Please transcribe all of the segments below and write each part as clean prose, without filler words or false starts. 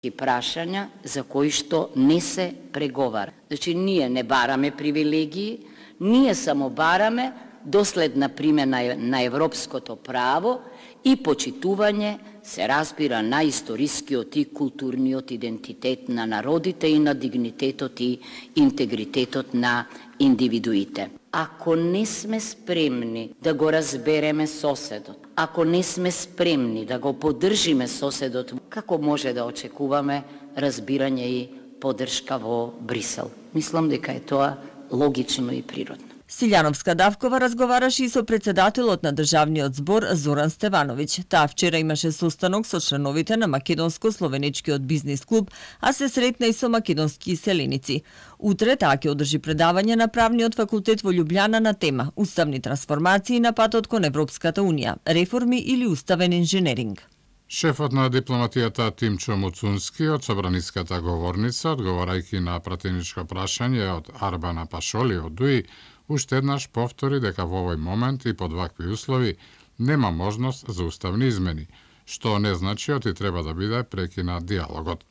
и прашања за кои што не се преговара. Значи, ние не бараме привилегии, ние само бараме доследна примена на европското право и почитување, се разбира, на историскиот и културниот идентитет на народите и на дигнитетот и интегритетот на индивидуите. Ако не сме спремни да го разбереме соседот, ако не сме спремни да го поддржиме соседот, како може да очекуваме разбирање и поддршка во Брисел? Мислам дека е тоа логично и природно. Силјановска Давкова разговараше и со председателот на Државниот збор Зоран Стевановиќ. Таа вчера имаше состанок со членовите на Македонско-словеничкиот бизнис клуб, а се сретна и со македонски иселеници. Утре таа ќе одржи предавање на Правниот факултет во Љубљана на тема Уставни трансформации на патот кон Европската унија, реформи или уставен инженеринг. Шефот на дипломатијата Тимчо Муцунски од собраниската говорница, одговарајќи на пратеничко прашање од Арбана Пашоли од ДУИ, уште еднаш повтори дека во овој момент и под вакви услови нема можност за уставни измени, што не значи оти треба да биде прекинат диалогот.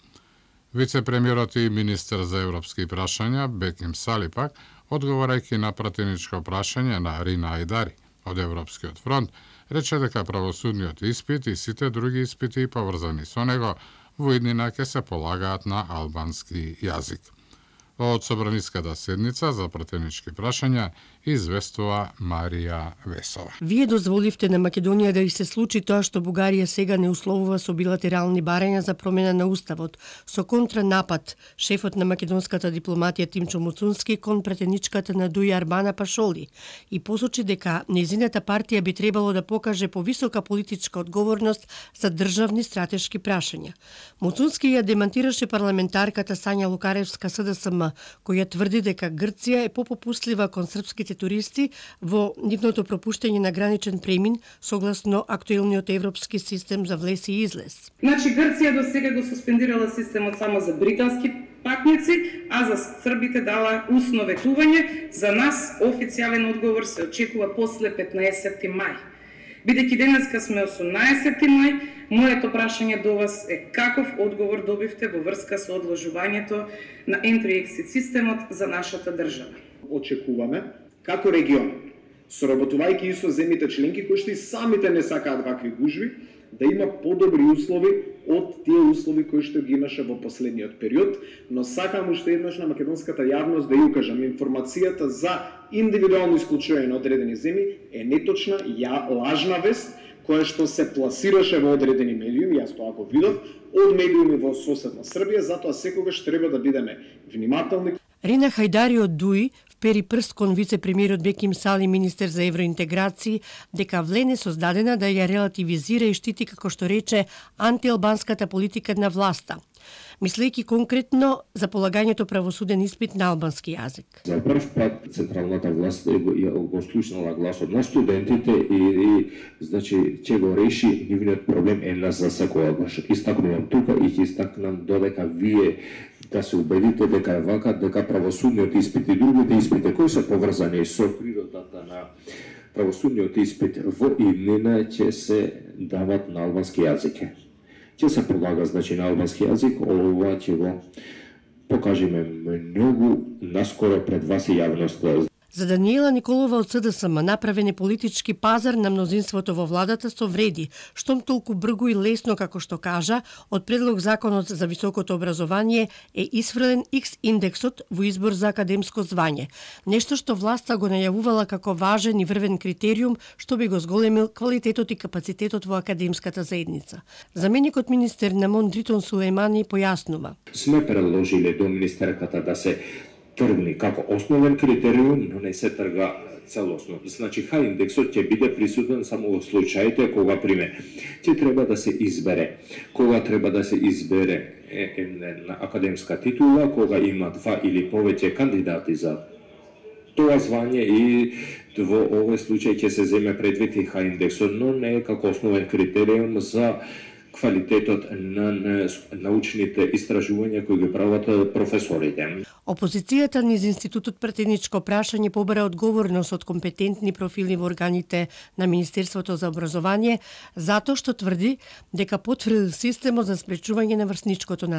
Вице-премиерот и министер за европски прашања Беким Сали пак, одговарајќи на пратеничко прашање на Рина Ајдари од Европскиот фронт, рече дека правосудниот испит и сите други испити поврзани со него во иднина ќе се полагаат на албански јазик. Од собраниската седница за пратенички прашања известува Марија Весова. Вие дозволивте на Македонија да и се случи тоа што Бугарија сега не условува со билатерални барања за промена на уставот, со контранапад шефот на македонската дипломатија Тимчо Муцунски кон пратеничката на ДУИ Арбана Пашоли и посочи дека нејзината партија би требало да покаже повисока политичка одговорност за државни стратешки прашања. Муцунски ја демантираше парламентарката Сања Лукаревска СДСМ, која тврди дека Грција е попопустлива кон српските туристи во нивното пропуштање на граничен премин согласно актуелниот европски систем за влез и излез. Значи Грција до сега го суспендирала системот само за британски патници, а за србите дала усно ветување. За нас официјален одговор се очекува после 15 мај. Бидејќи денеска сме 18 мај, моето прашање до вас е каков одговор добивте во врска со одложувањето на Entry-Exit системот за нашата држава? Очекуваме како регион, соработувајќи и со земјите членки кои што и самите не сакаат вакви гужви, да има подобри услови од тие услови кои што ги имаше во последниот период, но сакам уште еднаш на македонската јавност да ја укажам информацијата за индивидуално исклучување на одредени земји е неточна, лажна вест која што се пласираше во одредени медиуми, јас тоа го видов, од медиуми во соседна Србија, затоа секогаш треба да бидеме внимателни. Рина Хајдари од ДУИ впери прст кон вице-премиерот Беким Сали, министер за евроинтеграција, дека влен е создадена да ја релативизира и штити, како што рече, антиалбанската политика на власта, мислејќи конкретно за полагањето правосуден испит на албански јазик. За прв пат централната власт го слушнала гласот на студентите и значи ќе го реши нивниот проблем една за секогаш. Истакнувам тука и ќе истакнам додека вие да се убедите дека вака, дека правосудниот испит и другите испити кои се поврзани со природата на правосудниот испит во иднина ќе се дават на албански јазик. Ќе се полага значи на албански јазик, ова ќе го покажеме многу наскоро пред вас и јавноста. За Даниела Николова од СДСМ направен е политички пазар на мнозинството во владата со вреди, штом толку бргу и лесно, како што кажа, од предлог законот за високото образование е исфрлен X индексот во избор за академско звање. Нешто што власта го најавувала како важен и врвен критериум што би го зголемил квалитетот и капацитетот во академската заедница. Заменикот министер Намон Дритон Сулејмани појаснува. Сме предложиле до министерката да се тргни како основен критериум, но не се трга целосно. Значи, H-индексот ќе биде присутен само во случаите кога, пример, ќе треба да се избере. Кога треба да се избере една академска титула, кога има 2 или повеќе кандидати за тоа звање и во овој случај ќе се земе предвид и H-индексот, но не е како основен критериум за квалитетот на научните истражувања кои ги прават професорите. Опозицијата низ Институтот пратеничко прашање побара одговорност од компетентни профили во органите на Министерството за образование затоа што тврди дека потврди системот за спречување на врсничкото насилие.